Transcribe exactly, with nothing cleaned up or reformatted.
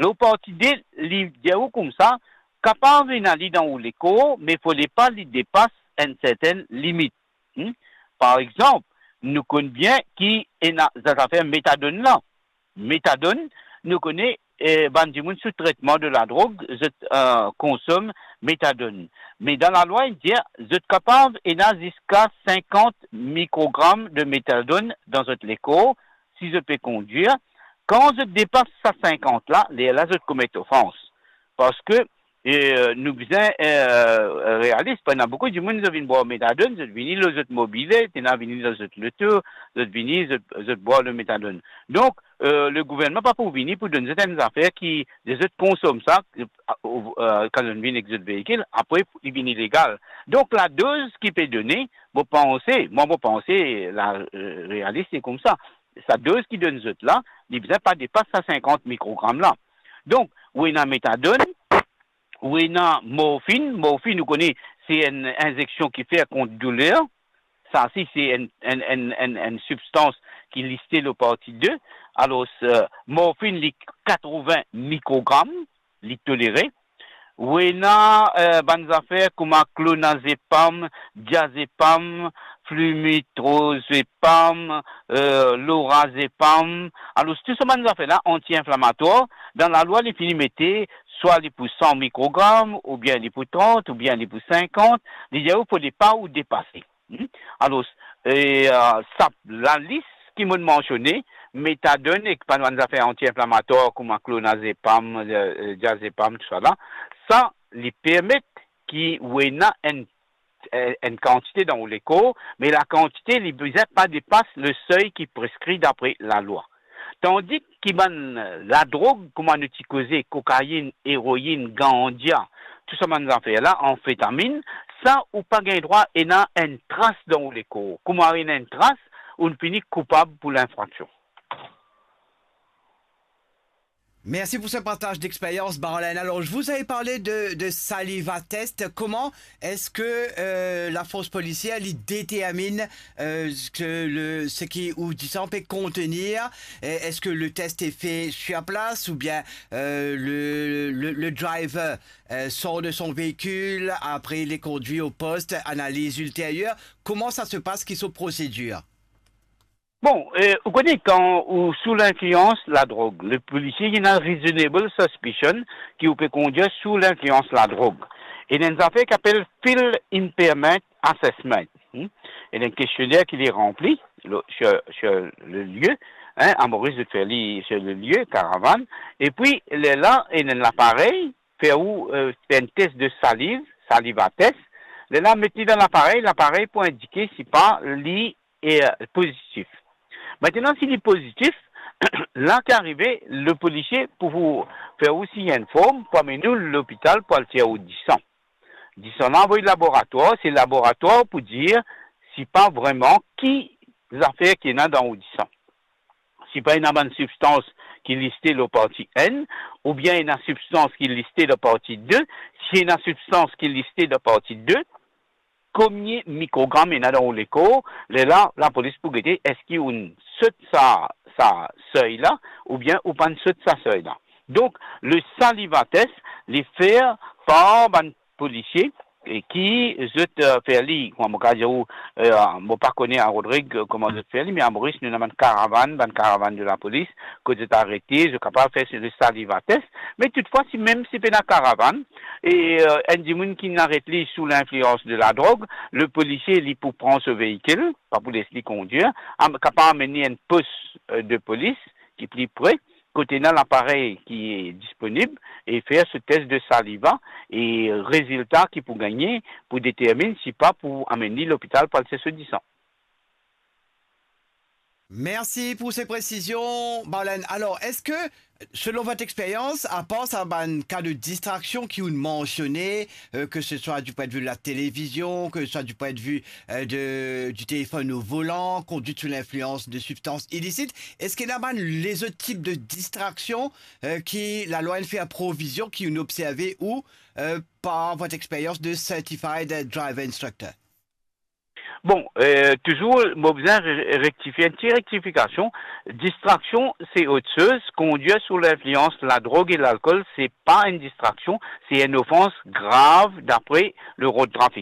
Lor parti de, li dir ou koumsa, kapav ena li dan ou lekor, me fode pa li depas enn sertenn limit. Hmm? Par exanp, nou konn bien ki ena zafer metadonn la. Metadonn, nou kone, eh, bann dimoun sou tretman de ladrog, zot, eh, konsom metadonn. Me dan lalwa, li dir, zot kapav ena ziska sinkant mikrogram de metadonn dan zot lekor, si zot pe kondwir. Kan zot depas sa sinkant la, lerla zot komet ofans. Parski, eh, nou bizin, eh, realis, pa ena boukou dimoun, zot vinn bwar metadonn, zot vini lor zot mobile, ena vini lor zot loto, zot vini, zot, zot bwar le metadonn. Donk, eh, le gouvernman pa pou vini pou donn zot enn zafer ki, zot konsom sa, eh, eh, kan zot vinn ek zot veikil, apre li vinn ilegal. Donk, ladoz ki pe done, mo panse, mwa mo panse, la, eh, realis, se koumsa. Sa doz ki donn zot la, li bizin pa depas sa sinkant mikrogram la. Donk, ou ena metadonn, ou ena morfinn. Morfinn, ou kone, se enn inzeksion ki fer kont douler. Sa si se enn, enn, enn, enn, enn sibstans ki liste lor parti de. Alor, eh, morfinn, li katrovin mikrogram, li tolere. Ou ena, eh, bann zafer kouma klonazepam, diazepam, flunitrazepam, eh, lorazepam. Alor, tou sa bann zafer la, anti-inflamatwar, dan lalwa, li fini mete, swa li pou san mikrogram, oubien li pou trant, oubien li pou sinkant, li dir ou fode pa ou depase. Hmm? Alor, eh, eh, sa, lalis ki mo'nn mansione, metadonn ek bann, bann zafer anti-inflamatwar kouma klonazepam, eh, eh, diazepam, tousala, sa, li permet ki ou ena enn, eh, enn kantite dan ou lekor, me lakantite, li bizin pa depas le sey ki preskri dapre lalwa. Tandis ki bann ladrog, kouma nou ti koze, kokainn, eroinn, ganja, tou sa bann zafer la, anfetamin, sa ou pa gagn drwa ena enn tras dan ou lekor. Kouma ena enn tras, ou'nn fini koupab pou linfraksion. Merci pour ce partage d'expérience, Barlène. Alors, je vous avais parlé de, de saliva test. Comment est-ce que euh, la force policière li détermine euh, ce que le, ce qui ou disan peut contenir? Et est-ce que le test est fait sur place ou bien euh, le, le, le driver euh, sort de son véhicule, après il est conduit au poste, analyse ultérieure? Comment ça se passe, qui sont procédures? Bon, eh, ou kone kan ou sou linflians ladrog, le polisie, li ena reasonable suspicion ki ou pe kondwir sou linflians ladrog. E ena enn zafer ki apel field impairment assessment. Hmm? Ena enn kestionner ki li ranpli lo, sur, sur le lieu, hein, a Moris zot fer li sur le lieu, karavann. E pi, lerla, ena enn laparey, fer ou, eh, fer enn test de saliv, saliva test. Lerla, met li dan laparey, laparey pou indike si pa li e, eh, pozitif. Aster, si li pozitif, la ki arive, le polisie pou fer ou sign enn form pou amenn ou lopital pou al tir ou disan. Disan la avoy laboratwar, se laboratwar pou dir si pa vreman ki zafer ki ena dan ou disan. Si pa ena bann sibstans ki liste lor parti enn, oubien ena sibstans ki liste lor parti de, si ena sibstans ki liste lor parti de, konbien mikrogram ena dan ou lekor, lerla, lapolis pou gete eski ou'nn sot sa, sa sey la, oubien ou pa'nn sot sa sey la. Donk, le saliva test, li fer par bann polisie, e ki zot, eh, fer li, kouma mo kapav dir ou, eh, mo pa kone a Rodrig, eh, kouma zot fer li, me a Moris, nou ena bann karavann, bann karavann de lapolis, kot zot arete, zot kapav fer le saliva test. Me toutfwa, si mem si pena karavann, e, eh, enn dimoun ki aret li sou linflians de ladrog, le polisie, li pou pran so veikil, pa pou les li kondwir, am-, kapav amenn li enn pos, eh, de polis ki pli pre, kot ena laparey ki disponib e fer so test de saliva e rezilta ki pou gagne pou determinn si pa pou amenn li lopital pou al tir so disan. Merci pour ces précisions, Barlène. Alors, est-ce que, selon votre expérience, à part sa bann ka de distraction ki ou'nn mansione, euh, que ce soit du point de vue de la télévision, que ce soit du point de vue euh, de, du téléphone au volant, conduite sous l'influence de substances illicites, eski ena bann lezot tip de distraksion euh, ki lalwa inn fer provizion, ki ou'nn observe ou euh, par votre expérience de certified driver instructor? Bon, euh, toujours, mo bizin re-, rektifie, enn ti rektifikasion. Distraksion, se ot soz. Conduire sous l'influence de la drogue et l'alcool, se pa enn distraksion, se enn ofans grav dapre le rod trafik.